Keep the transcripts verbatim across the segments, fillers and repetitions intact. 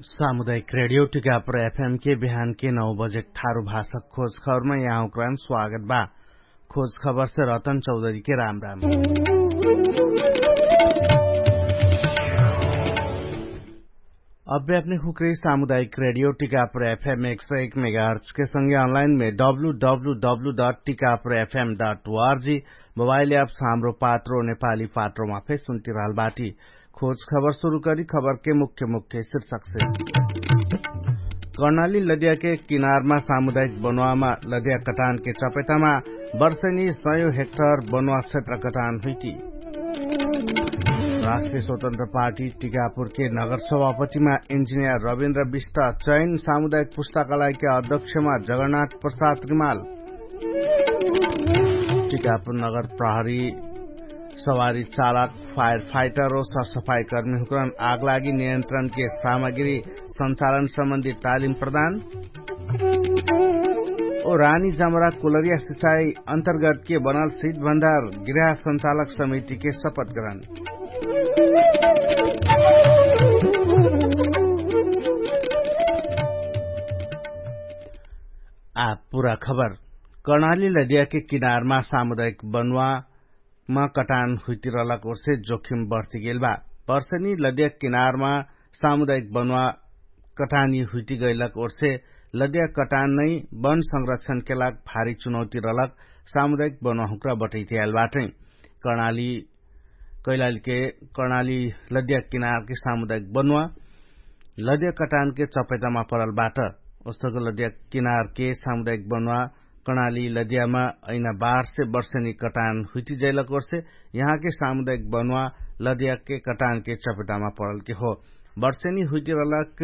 सामुदायिक रेडियो टिकापुर एफएम के बिहान के नौ बजे ठारु भाषा खोज खबरमा यहाँ उक्रान स्वागत बा। खोज खबर से रतन चौधरी के राम राम। अब्बे अपने खुक्रे सामुदायिक रेडियो टिकापुर एफएम एक सौ एक मेगाहर्च के संगे अनलाइन में W W W dot Tikapur FM dot ORG mobile apps Hamro Patro नेपाली पात्रोमा फे सुन्ति रहल बाटी। खोज खबर सुरु करी खबर के मुख्य मुख्य शीर्षक से। कर्णाली लदिया के किनारमा सामुदायिक बनुवामा लदिया कटान के चपेटामा वर्षनी सयौं हेक्टर बनुवा क्षेत्र कटान हुइटी। राष्ट्रिय स्वतन्त्र पार्टी टिकापुर के नगर सभापतिमा इन्जिनियर रविन्द्र विष्ट चयन सामुदायिक पुस्तकालय के अध्यक्षमा जगन्नाथ प्रसाद रिमाल। टिकापुर नगर प्रहरी सवारी चालक फायर फाइटर ओ सरसफाई कर्मी हुक्रन आगलागी नियन्त्रण के सामग्री सञ्चालन सम्बन्धी तालिम प्रदान। ओ रानी जमरा कुलरिया सिचाई अन्तर्गत के बनल सिट भन्दार गृह सञ्चालक समिति के सपत ग्रहण। आ पुरा खबर। कर्णाली लदिया के किनारमा सामुदायिक बनुवा मा कटान हुइतिरलक ओर्से जोखिम बर्तिगेल बा। पर्सेनी लदिया किनारमा सामुदायिक बनुवा कटानी हुइतिगैलक ओर्से लदिया कटान नै बन संरक्षणके लाग भारी चुनौतिरलक सामुदायिक बनुवा हुक्रा बटैतियाल बाटै। कर्णाली कैलालीके कर्णाली लदिया किनारके सामुदायिक बनुवा लदिया कटानके चपेटामा परल बाट। ओस्तक लदिया किनारके सामुदायिक बनुवा कर्णाली लदियामा ऐना बारसे वर्षेनी कटान हुइटिजैलक ओर्से यहाँके सामुदायिक बनुवा लदियाके कटानके चपेटामा परलके हो। वर्षेनी हुइटिरलक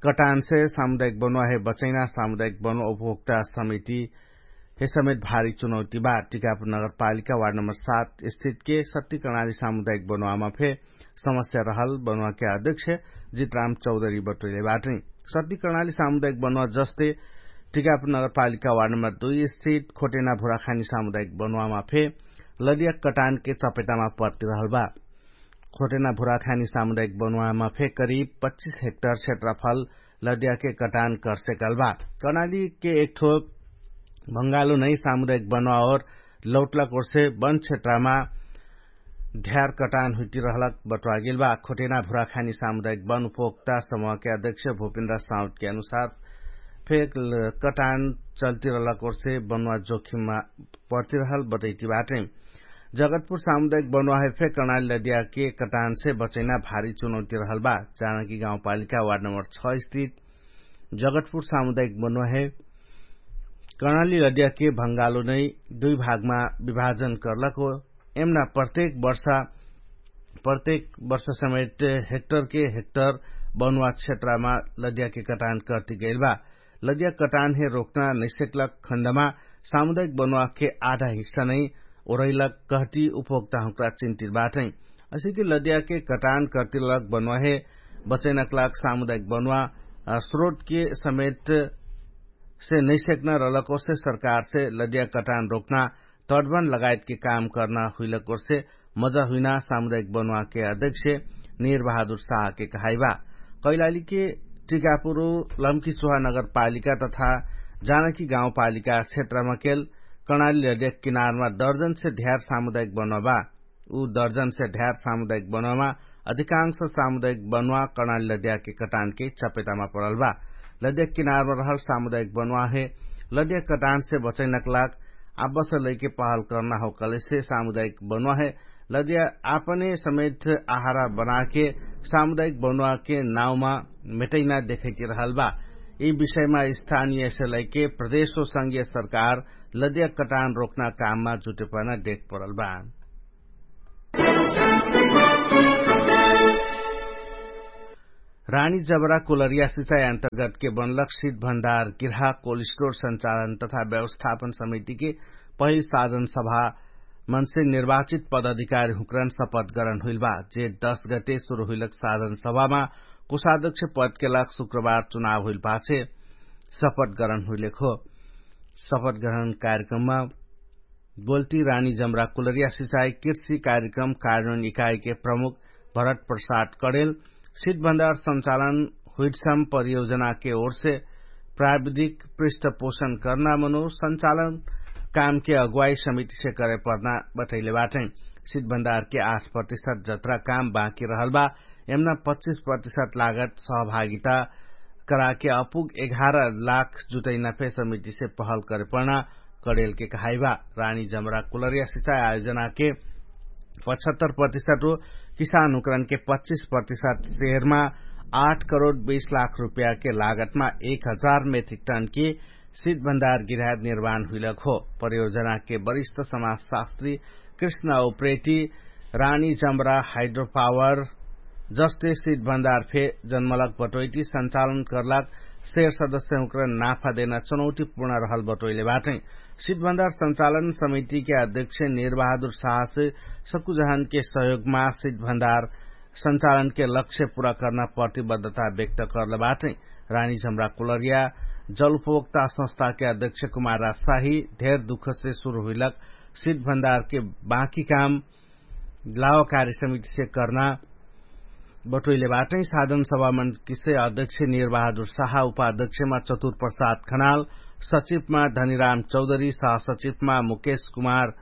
कटानसे सामुदायिक बनुवा हे बचैना सामुदायिक बनुवा उपभोक्ता समिति हे समेत भारी चुनौती बा। टिकापुर नगरपालिका वार्ड नम्बर सात स्थितके सत्ती कर्णाली सामुदायिक बनुवामा फे समस्या रहल बनुवाके अध्यक्ष जितराम चौधरी बटोइले बाटै। सत्ती कर्णाली सामुदायिक बनुवा जस्ते टिकापुर नगरपालिका वार्ड नम्बर दुई स्थित खोटेना भुराखानी सामुदायिक बनुवामा फे लदिया कटानके चपेटामा पर्तिरहल बा। खोटेना भुराखानी सामुदायिक बनुवामा फे करिब पच्चिस हेक्टर क्षेत्रफल लदियाके कटान कर्सेकल बा। कर्णालीके एकठो भङ्गालो नै सामुदायिक बनुवा ओर लौटला कोर्से वन क्षेत्रमा ध्यार कटान हुइटिरहलक बट्वागेल बा। खोटेना भुराखानी सामुदायिक वन उपभोक्ता समूहके अध्यक्ष भूपिन्द्र साउदके अनुसार फेक कटान चल्तिरहलक ओर्से बनुवा जोखिममा पर्तिरहल बटैति बाटै। जगतपुर सामुदायिक बनुवा हे फे कर्णाली लदियाके कटानसे बचैना भारी चुनौतिरहल बा। जानकी गाउँपालिका वार्ड नम्बर छ स्थित जगतपुर सामुदायिक बनुवा हे कर्णाली लदियाके भङ्गालो नै दुई भागमा विभाजन कर्लक हो। एमना प्रत्येक वर्ष प्रत्येक वर्ष समेत हेक्टरके हेक्टर बनुवा क्षेत्रमा लदियाके कटान कर्तिगैल बा। लदिया कटान हे रोक्ना नैसेकला खण्डमा सामुदायिक बनुवाके आधा हिस्सा नै ओरैलक कहती उपभोक्ता हुँक्रा चिन्तित बाटै। असिकी लदियाके कटान कर्तिलक बनुवा हे बचैनक लाग सामुदायिक बनुवा स्रोतके समेत से नैसेक्ना रलक ओर्से सरकारसे लदिया कटान रोक्ना तडबन लगायतके काम कर्ना हुइलक ओर्से मजा हुइना सामुदायिक बनुवाके अध्यक्ष निर बहादुर साहके कहाइबा। कैलालीके टिकापुरु लम्की चुहा नगरपालिका तथा जानकी गाउँपालिका क्षेत्रमकेल कर्णाली लदिया किनारमा दर्जनसे ध्यार सामुदायिक बनुवा बा। उ दर्जनसे ध्यार सामुदायिक बनुवामा अधिकांश सामुदायिक बनुवा कर्णाली लदियाके कटानके चपेटामा परल बा। लदिया किनारमा रहल सामुदायिक बनुवा हे लदिया कटानसे बचैनक लाग आबस लैके पहल कर्ना हो कलेसे सामुदायिक बनुवा हे लदिया आपने समेत आहारा बनाके सामुदायिक बनुवाके नाउँमा मेटैना देखैतिरहल बा। यि विषयमा स्थानीयसे लैके प्रदेशो संगीय सरकार लदिया कटान रोक्ना काममा जुटेपना देख परल बा। रानी जबरा कुलरिया सिचाइ अन्तर्गतके बनलक सिट भन्दार गिर्हा कोल्ड स्टोर सञ्चालन तथा व्यवस्थापन समितिके पहिल साधन सभा मनसे निर्वाचित पदाधिकारी हुँक्रन सपत गरन हुइल बा। जे दश गते सुरु हुइलक साधन सभामा कुशाध्यक्ष पदके लाग शुक्रबार चुनाव हुइल पाछे सपत गरन हुइलेक हो। सपत गरन कार्यक्रममा बोल्टी रानी जमरा कुलरिया सिचाइ कृषि कार्यक्रम कार्यन्वयन इकाइके प्रमुख भरत प्रसाद कडेल सिट भन्दार सञ्चालन हुइटसम परियोजनाके ओरसे प्राविधिक पृष्ठपोषण कर्ना मनो संचालन कामके अगुवाई समितिसे करे पर्ना बटैले बाटै। सिटभन्दारके आठ प्रतिशत जत्रा काम बाँकी रहल बा। यमना पच्चिस प्रतिशत लागत सहभागिता कराके अपुग एघार लाख जुटैना फे समितिसे पहल करे पर्ना कडेलके कहाइबा। रानी जमरा कुलरिया सिचाइ आयोजनाके पचहत्तर प्रतिशत हो किसान हुकरनके पच्चिस प्रतिशत सेहरमा आठ करोड बीस लाख रुपयाके लागतमा एक हजार मेट्रिक टनके सिटभन्दार गिरायत निर्माण हुइलक हो। परियोजनाके वरिष्ठ समाजशास्त्री कृष्ण उप्रेती रानी जमरा हाइड्रोपावर जस्ते सिटभन्दार फे जन्मलक बटोइटी संचालन कर्लक सेर सदस्यहुँक्र नाफा देना चुनौतीपूर्ण रहल बटोइले बाटै। सिटभन्दार संचालन समितिके अध्यक्ष निर्बहादुर साहस सकुजहनके सहयोगमा सिटभन्दार संचालनके लक्ष्य पुरा कर्ना प्रतिबद्धता व्यक्त कर्ल बाटै। रानी झमरा कुलरिया जलपोक्ता संस्थाके अध्यक्ष कुमार राजशाही धेर दुखसे सुरु हुइलक सिटभन्दारके बाँकी काम लावकारी समितिसे कर्ना बटोइले बाटै। साधन सभामन किसे अध्यक्ष निर्बहादुर साहा उपाध्यक्षमा चतुर प्रसाद खनाल सचिवमा धनिराम चौधरी सहसचिवमा मुकेश कुमार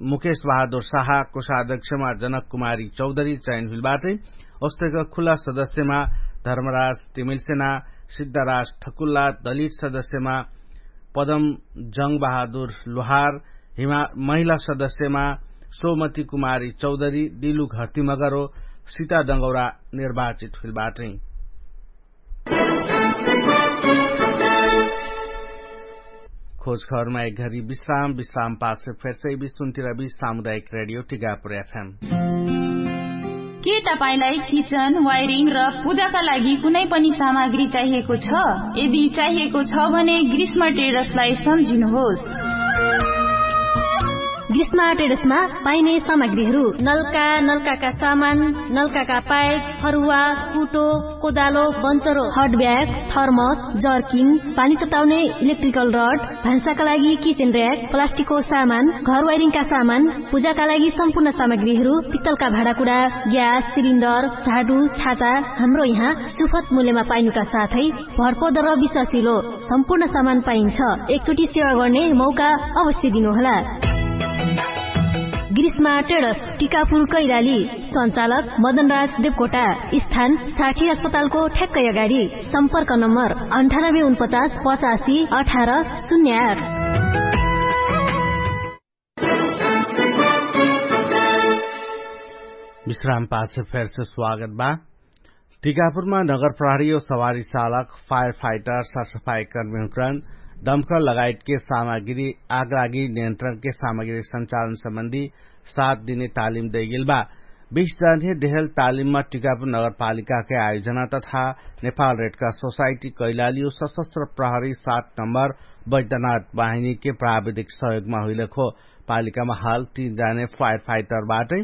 मुकेश बहादुर साहा कोषाध्यक्षमा जनक कुमारी चौधरी चयन हुइल बाटै। ओस्तेक खुला सदस्यमा धर्मराज तिमिलसेना सिद्धराज ठकुल्ला दलित सदस्यमा पदम जङ्ग बहादुर लोहार महिला सदस्यमा सोमती कुमारी चौधरी डिलु घर्तिमगरो सिता दङ्गौरा निर्वाचित हुइल बाटै। खोजखबरमा एक घरी विश्राम विश्राम पाछ फेर्सै बिसुन्तिरबी सामुदायिक रेडियो टिगापुर एफएम। के तपाईंलाई किचन वायरिङ र पूजाका लागि कुनै पनि सामग्री चाहिएको छ? यदि चाहिएको छ भने ग्रीष्म ट्रेडर्सलाई सम्झिनुहोस्। ग्रीष्म ट्रेडर्समा पाइने सामग्रीहरू नल्का नल्काका सामान, नल्काका पाइप, फरुवा, कुटो, कोदालो, बन्चरो, हटब्याग, थर्मस, जर्किङ, पानी तताउने इलेक्ट्रिकल रड, भान्साका लागि किचेन र्याक, प्लास्टिकको सामान, घर वाइरिङका सामान, पूजाका लागि सम्पूर्ण सामग्रीहरू, पित्तलका भाँडाकुडा, ग्यास सिलिन्डर, झाडु, छाता, हाम्रो यहाँ सुफत मूल्यमा पाइनुका साथै भरपर्दो र विश्वासिलो सम्पूर्ण सामान पाइन्छ। एकचोटि सेवा गर्ने मौका अवश्य दिनुहोला। ग्रीष्मा ट्रेडर्स, टिकापुर कैलाली। सञ्चालक मदनराज देवकोटा। स्थान साठी अस्पतालको ठ्याक्कै अगाडि। सम्पर्क नम्बर अन्ठानब्बे उनपचास पचासी अठार शून्य आठ। विश्राम पाछ फेरसे स्वागत बा। टिकापुरमा नगर प्रहरी और सवारी चालक, फायर फाइटर, सरसफाई कर्मीहुँकरण, दमकल लगायतके सामग्री आगलागी नियन्त्रणके सामग्री सञ्चालन सम्बन्धी सात दिने तालिम दैगेल बा। बिस जने देहल तालिममा टिकापुर नगरपालिकाके आयोजना तथा नेपाल रेडका सोसाइटी कैलाली और सशस्त्र प्रहरी सात नम्बर बैद्यनाथ बाहिनीके प्राविधिक सहयोगमा हुइलक हो। पालिकामा हाल तीन जाने फायर फाइटर बाटै।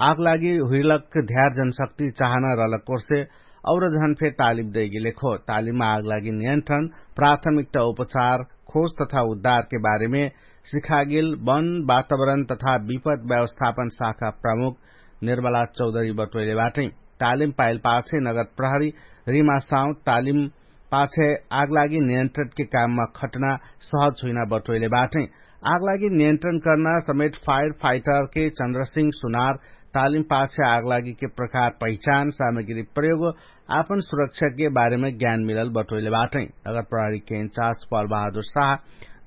आगलागी हुइलक ध्यार जनशक्ति चाहना रहलक कोर्से और जहन फेर तालिम दैगेलेक हो। तालिममा आगलागी नियन्त्रण, प्राथमिकता उपचार, खोज तथा उद्धारके बारेमे सिखागेल वन वातावरण तथा विपद व्यवस्थापन शाखा प्रमुख निर्मला चौधरी बटोइले बाटै। तालिम पाइल पाछे नगर प्रहरी रिमासाउँ तालिम पाछे आगलागी नियन्त्रणके काममा खट्ना सहज हुइना बटोइले बाटै। आगलागी नियन्त्रण कर्ना समेत फायर फाइटरके चन्द्रसिंह सुनार तालिम पाछे आगलागीके प्रकार पहिचान सामग्री प्रयोग आपन सुरक्षाके बारेमे ज्ञान मिलल बटोइले बाटै। नगर प्रहरीके इन्चार्ज पल बहादुर साह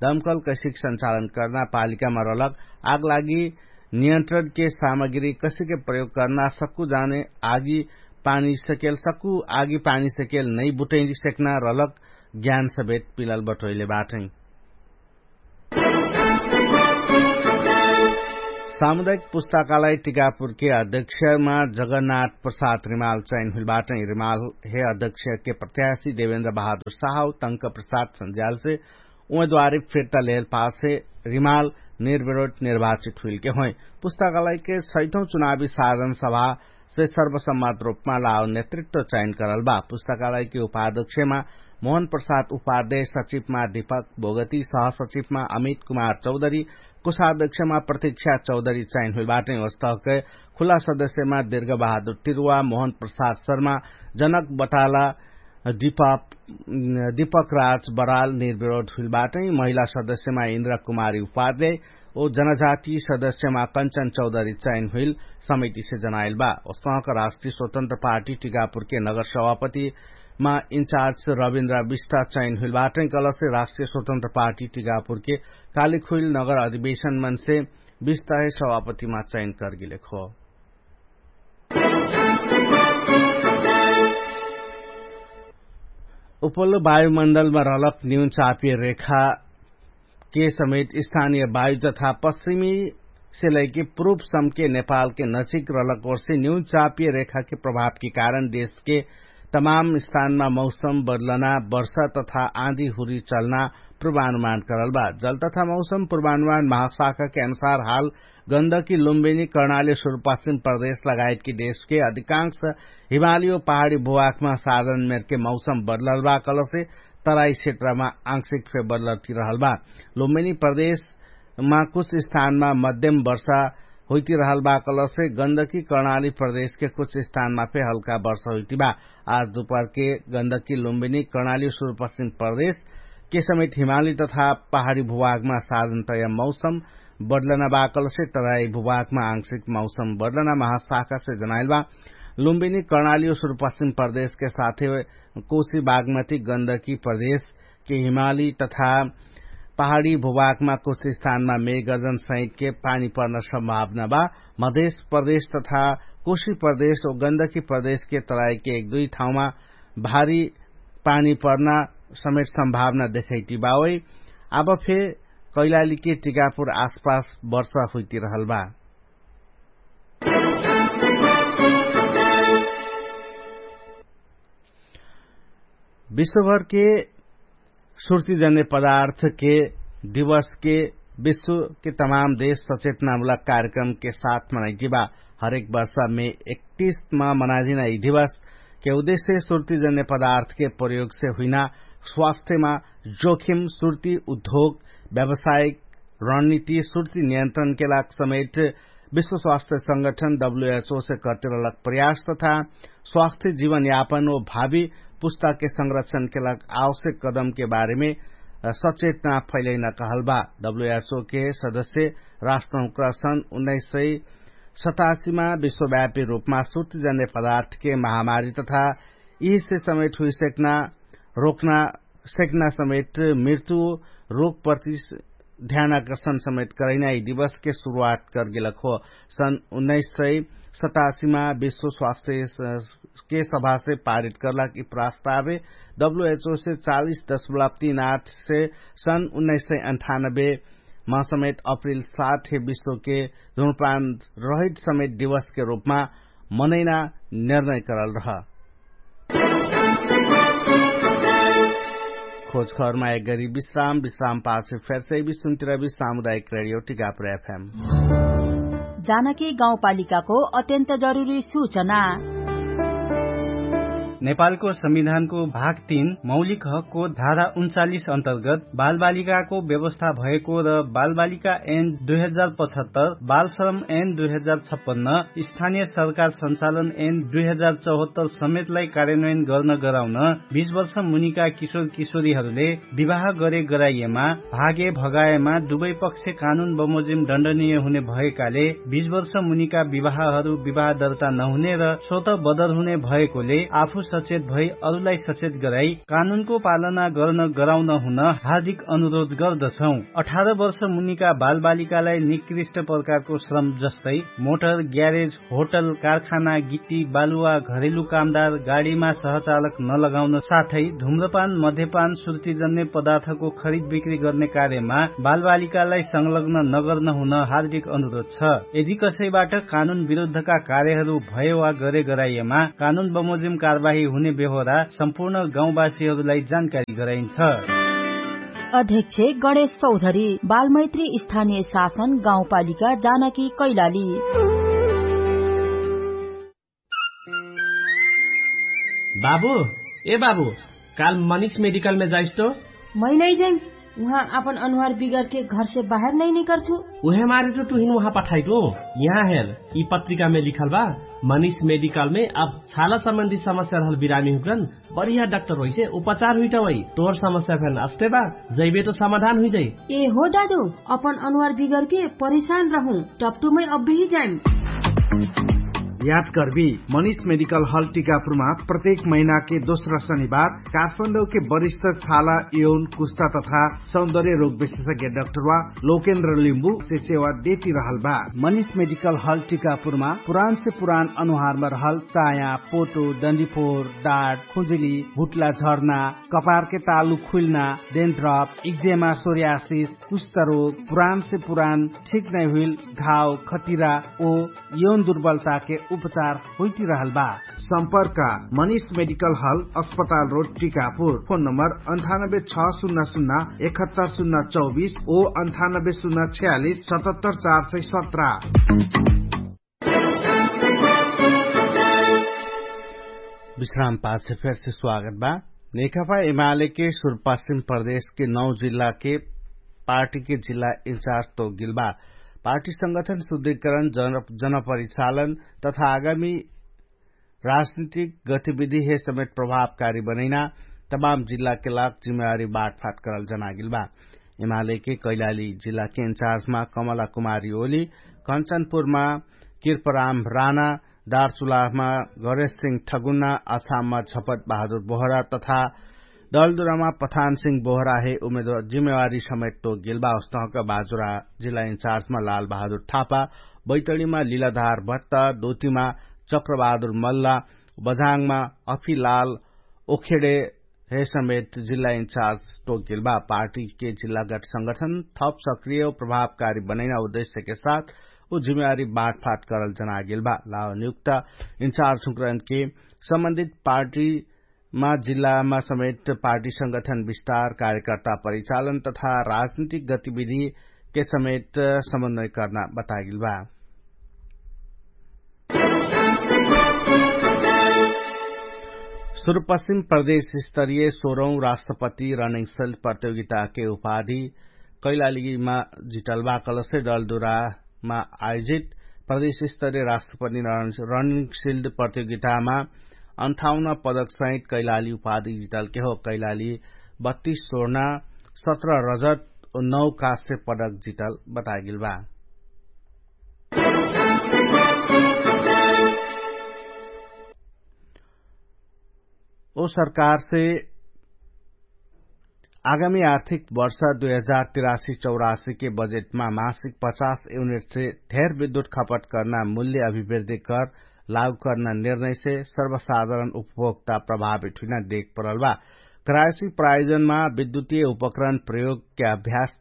दमकल कैसिक सञ्चालन कर्ना पालिकामा रहलक आगलागी नियन्त्रणके सामग्री कसिके प्रयोग कर्ना सक्कु जाने आगी पानी सकेल सक्कु आगी पानी सकेल नै बुटैरी सेक्ना रहलक ज्ञान समेत पिलल बटोइले बाटै। सामुदायिक पुस्ताकालय टिकापुरके अध्यक्षमा जगन्नाथ प्रसाद रिमाल चैन हुइल बाटै। रिमाल हे अध्यक्षके प्रत्याशी देवेन्द्र बहादुर साहौ तंक प्रसाद सन्ज्यालसे उमेदवारी फिर्ता लेहल पाछे रिमाल निर्विरोध निर्वाचित हुइलके होइ। पुस्तकालयके सैठौं चुनावी साधन सभासे सर्वसम्मत रूपमा लाव नेतृत्व चयन करल बा। पुस्तकालयके उपाध्यक्षमा मोहन प्रसाद उपाध्याय सचिवमा दीपक बोगती सहसचिवमा अमित कुमार चौधरी कोषाध्यक्षमा प्रतीक्षा चौधरी चयन हुइल बाटै। वस्तहके खुला सदस्यमा दीर्घ बहादुर तिरुवा मोहन प्रसाद शर्मा जनक बताला दीपक राज बराल निर्विरोध हुइल बाटै। महिला सदस्यमा इन्द्र कुमारी उपाध्याय ओ जनजाति सदस्यमा कञ्चन चौधरी चयन हुइल समितिसे जनाइल बा। ओसहक राष्ट्रिय स्वतन्त्र पार्टी टिकापुरके नगर सभापतिमा इन्चार्ज रविन्द्र विष्टा चयन हुइल बाटै। कलसे राष्ट्रिय स्वतन्त्र पार्टी टिकापुरके कालिक हुइल नगर अधिवेशनमनसे विष्टा हे सभापतिमा चयन करगिलेक हो। उपल्लो वायुमण्डलमा रहलक न्यून चापिय रेखा के समेत स्थानिय वायु तथा पश्चिमी सेलैके प्रुप सम्के नेपालके नजिक रहलक ओर्से न्यून चापिय रेखाके प्रभावके कारण देशके तमाम स्थानमा मौसम बदलना वर्षा तथा आँधी हुरी चल्ना प्रुवानुमान करल बा। जल तथा मौसम प्रुवानुमान महाशाखाके अनुसार हाल गन्दकी लुम्बिनी कर्णाली सुरुपश्चिम प्रदेश लगायतकी देशके अधिकांश हिमाली ओ पहाडी भुवाकमा साधन मेरके मौसम बदलल बा कलसे तराई क्षेत्रमा आंशिक फे बदलती रहल बा। लुम्बिनी प्रदेशमा कुछ स्थानमा मध्यम वर्षा हुइती रहल बा कलसे गन्दकी कर्णाली प्रदेशके कुछ स्थानमा फे हल्का वर्षा हुइती बा। आज दुपहरके गन्दकी लुम्बिनी कर्णाली सुरुपश्चिम प्रदेशके समेत हिमाली तथा पहाडी भुवाकमा साधन तया मौसम बदलना बा कलसे तराई भुवाकमा आंशिक मौसम बदलना महाशाखासे जनाइल बा। लुम्बिनी कर्णाली ओ सुरुपश्चिम प्रदेशके साथे कोशी बागमती गन्दकी प्रदेशके हिमाली तथा पहाडी भुवाकमा कुछ स्थानमा मेघ गर्जन सहितके पानी पर्न सम्भावना बा। मधेश प्रदेश तथा कोशी प्रदेश ओ गन्दकी प्रदेशके तराईके एक दुई ठाउँमा भारी पानी पर्ना समेत सम्भावना देखैती बा। ओइ आब फे कैलालीके टिकापुर आसपास वर्षा हुइती रहल बा। विश्वभरके सुर्तिजन्य पदार्थके दिवसके विश्वके तमाम देश सचेतनामुलक कार्यक्रमके साथ मनाइती बा। हरेक वर्षा मे एकतिसमा मनाजिना यि दिवसके उद्देश्य सुर्तिजन्य पदार्थके प्रयोगसे हुइना स्वास्थ्यमा जोखिम सुर्ति उद्योग व्यावसायिक रणनीति सुर्ति नियन्त्रणके लाग समेट विश्व स्वास्थ्य संगठन डब्ल्यूएचओ से कर्तिरलक प्रयास तथा स्वास्थ्य जीवन यापन ओ भावी पुस्ताके संरक्षणके लाग आवश्यक कदमके बारेमे सचेतना फैलैना कहल बा। डब्ल्यूएचओ के सदस्य राष्ट्रहुँक्रा सन् उन्नाइस सय सतासीमा विश्वव्यापी रूपमा सुर्तिजन्य पदार्थके महामारी तथा यिसे समेट हुइसक्ना रोक्ना सेक्ना समेट मृत्यु रोग प्रति ध्यानाकर्षण समेट करैना यि दिवसके सुरुवात करगेलक हो। सन् उन्नाइस सय सतासीमा विश्व स्वास्थ्य के सभासे पारित करलाक यि प्रस्तावे डब्ल्यूएचओ से चालीस दशमलब तीन आठ से सन् उन्नाइस सय अन्ठानब्बे मा समेत अप्रिल सात हे विश्वके धुम्रपान रहित समेत दिवसके रूपमा मनैना निर्णय करल रह। खोजखबरमा एक गरी विश्राम विश्राम पाछे फेरसे विश्राम तिरबी सामुदायिक रेडियो टिकापुर एफएम। जानकी गाउँपालिकाको अत्यन्त जरुरी सूचना। नेपालको संविधानको भाग तीन मौलिक हकको धारा उन्चालिस अन्तर्गत बालबालिकाको व्यवस्था भएको र बालबालिका एन दुई हजार पचहत्तर बालश्रम एन दुई हजार छप्पन्न स्थानीय सरकार सञ्चालन एन दुई हजार चौहत्तर समेतलाई कार्यान्वयन गर्न गराउन बिस वर्ष मुनिका किशोर किशोरीहरूले विवाह गरे गराइएमा भागे भगाएमा दुवै पक्ष कानुन बमोजिम दण्डनीय हुने भएकाले बिस वर्ष मुनिका विवाहहरू विवाह दर्ता नहुने र स्वत बदर हुने भएकोले आफू सचेत भई अरूलाई सचेत गराई कानुनको पालना गर्न गराउन हुन हार्दिक अनुरोध गर्दछौं। अठार वर्ष मुनिका बालबालिकालाई निकृष्ट प्रकारको श्रम जस्तै मोटर ग्यारेज होटल कारखाना गिट्टी बालुवा घरेलु कामदार गाडीमा सहचालक नलगाउन साथै धुम्रपान मध्यपान सुर्तिजन्य पदार्थको खरिद बिक्री गर्ने कार्यमा बालबालिकालाई संलग्न नगर्न हुन हार्दिक अनुरोध छ। यदि कसैबाट कानुन विरुद्धका कार्यहरू भए वा गरे गराइएमा कानुन बमोजिम कारवाही हुने बेहोरा सम्पूर्ण गाउँवासीहरूलाई जानकारी गराइन्छ। अध्यक्ष गणेश चौधरी बालमैत्री स्थानीय शासन गाउँपालिका जानकी कैलाली। बाबु, ए बाबु, काल मनिष मेडिकलमे जाइस्तो? मै नै जाइम। उहाँ अपन अनुहार बिगरके घरसे बाहेर नै निकर्छु। उहे मारे त टुहिन उहाँ पठाइटो। यहाँ हेर, यि पत्रिकामे लिखल बा, मनिष मेडिकलमे अब छाला सम्बन्धी समस्या रहल बिरामी हुक्रन, बढिया डाक्टर होइसे उपचार हुइटवै। तोहर समस्या फेन अस्ते बा, जैबे त समाधान हुइजै। ए हो दादु, अपन अनुहार बिगरके परिशान रहु, टप्टुमै अब्बिही जाइम। याद कर्बी, मनिष मेडिकल हल टिकापुरमा प्रत्येक महिनाके दोस्रा शनिबार काठमाडौके वरिष्ठ छाला, यौन, कुस्ता तथा सौन्दर्य रोग विशेषज्ञ डाक्टरवा लोकेन्द्र लिम्बु से सेवा देती रहल बा। मनिष मेडिकल हल टिकापुरमा पुरान से पुरान अनुहारमा रहल चाया, पोटो, डन्डीफोर, डाट, खुजुली, भुट्ला झर्ना, कपारके तालु खुइल्ना, डेन्ड्रप, इक्जेमा, सोरियासिस, कुस्ता रोग, पुरान से पुरान ठीक नै हुइल घाव, खटिरा ओ यौन दुर्बलताके उपचार होइटिरहल बा। सम्पर्क, मनिष मेडिकल हल, अस्पताल रोड, टिकापुर। फोन नम्बर अन्ठानब्बे छ सुन्ना सुन्ना एकहत्तर सुन्ना चौबिस ओ अन्ठानब्बे सुन्ना छयालिस सतहत्तर चार सय सत्र। विश्राम पाछे फेरसे स्वागत बा। नेकपा एमालेके सुरपश्चिम प्रदेशके नौ जिल्लाके पार्टीके जिल्ला इन्चार्ज तोकगेल बा। पार्टी संगठन शुद्धिकरण, जन जनपरिचालन तथा आगामी राजनीतिक गतिविधि हे समेत प्रभावकारी बनैना तमाम जिल्लाके लाग जिम्मेवारी बाटफाट करल जनागेल बा। एमालेके कैलाली जिल्लाके इन्चार्जमा कमला कुमारी ओली, कन्चनपुरमा किर्पराम राना, दार्चुलामा गणेश सिंह ठगुन्ना, अछाममा झपत बहादुर बोहरा तथा डलदुरामा पठान सिंह बोहरा हे उमेदवार जिम्मेवारी समेत तोकगेल बा। उस्तहक बाजुरा जिल्ला इन्चार्जमा लाल बहादुर थापा, बैतडीमा लिलाधार भत्ता, दोतिमा चक्रबहादुर मल्ला, बझाङमा अफिलाल ओखेडे हे समेत जिल्ला इन्चार्ज तोकगेल बा। पार्टीके जिल्लागत संगठन थप सक्रिय प्रभावकारी बनैना उद्देश्यके साथ उ जिम्मेवारी बाटफाट करल जनागेल बा। लाव नियुक्त इन्चार्ज हुँकरनके सम्बन्धित पार्टीमा जिल्लामा समेत पार्टी संगठन विस्तार, कार्यकर्ता परिचालन तथा राजनीतिक गतिविधिके समेत समन्वय कर्ना बतागेल बा। सुरुपश्चिम प्रदेश स्तरीय सोह्रौं राष्ट्रपति रनिङ सिल्ड प्रतियोगिताके उपाधि कैलालीमा जितल बा। कलसे डलदुरामा आयोजित प्रदेश स्तरीय राष्ट्रपति रनिङ सिल्ड प्रतियोगितामा अन्ठाउन्न पदक सहित कैलाली उपाधि जितलके हो। कैलाली बत्तीस स्वर्ण, सत्र रजत, नौ काश्य पदक जितल बतागेल बा। ओ सरकारसे आगामी आर्थिक वर्ष दुई हजार तिरासी चौरासीके बजेटमा मासिक पचास युनिटसे धेर विद्युत खपट कर्ना मूल्य अभिवृद्धि कर लागु कर्ना निर्णयसे सर्वसाधारण उपभोक्ता प्रभावित हुइना देख परल बा। क्रायसी प्रायोजनमा विद्युतीय उपकरण प्रयोगके अभ्यास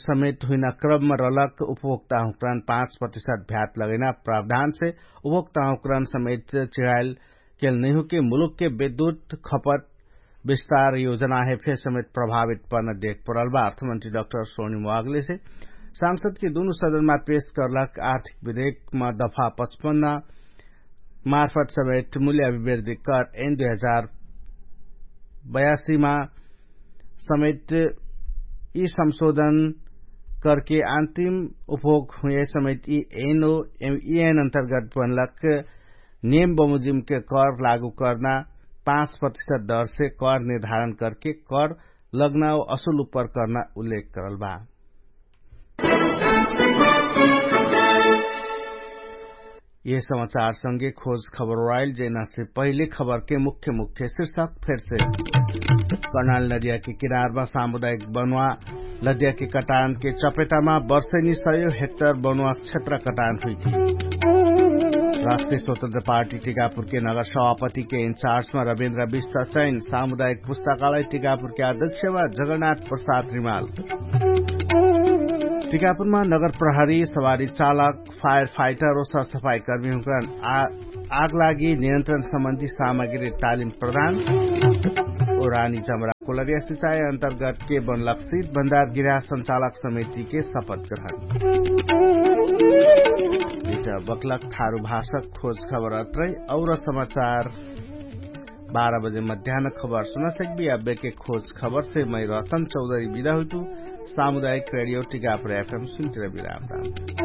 समेत हुइना क्रममा रलक उपभोक्ता हुँकरन पाँच प्रतिशत भ्यात लगैना प्रावधानसे उपभोक्ता हुँकरन समेत चिढाइल केल नैहुके मुलुकके विद्युत खपत विस्तार योजना हे फेर समेत प्रभावित पर्न देख परल बा। अर्थमन्त्री डाक्टर सोनी मोवागलेसे सांसदके दुनु सदनमा पेश कर्लक आर्थिक विधेयकमा दफा पचपन्न मार्फत समेत मूल्य अभिवृद्धि कर एन दुई हजार बयासीमा समेत यि संशोधन करके अन्तिम उपभोग हुए समेत यि एन ओ यि एन अन्तर्गत बनलक नेम बमुजिमके कर लागु कर्ना पाँच प्रतिशत दरसे कर निर्धारण करके कर लग्ना असुल उपर कर्ना उल्लेख करल बा। यह समाचार संगे खोज खबर ओराइल जेना से पहिले खबर के मुख्य मुख्य शीर्षक फेर से। कर्णाल नदिया के किनारमा सामुदायिक बनुवा नदिया के कटान के चपेटामा वर्षेनी सयो हेक्टर बनुवा क्षेत्र कटान हुइथी। राष्ट्रिय स्वतन्त्र पार्टी टिकापुर के नगर सभापति के इन्चार्जमा रविन्द्र विष्ट चैन सामुदायिक पुस्तकालय टिकापुर के अध्यक्षमा जगन्नाथ प्रसाद रिमाल। टिकापुरमा नगर प्रहरी सवारी चालक फायर फाइटर ओ सरसफाई कर्मी हुँकरन आगलागी नियन्त्रण सम्बन्धी सामग्री तालिम प्रदान। ओ रानी जमरा कोलरिया सिचाइ अन्तर्गत के बनलक सित भण्डार गिरा सञ्चालक समिति के शपथ ग्रहण। इटा बक्लक थारु भाषक खोज खबर अत्रै और समाचार। बाह्र बजे मध्यान खबर सुना सकबी। अब्बेके खोज खबरसे मै रतन चौधरी बिदा हुइतु। सामुदायिक रेडियो टिकापुर एफएम सुन्तिर बिराम राम।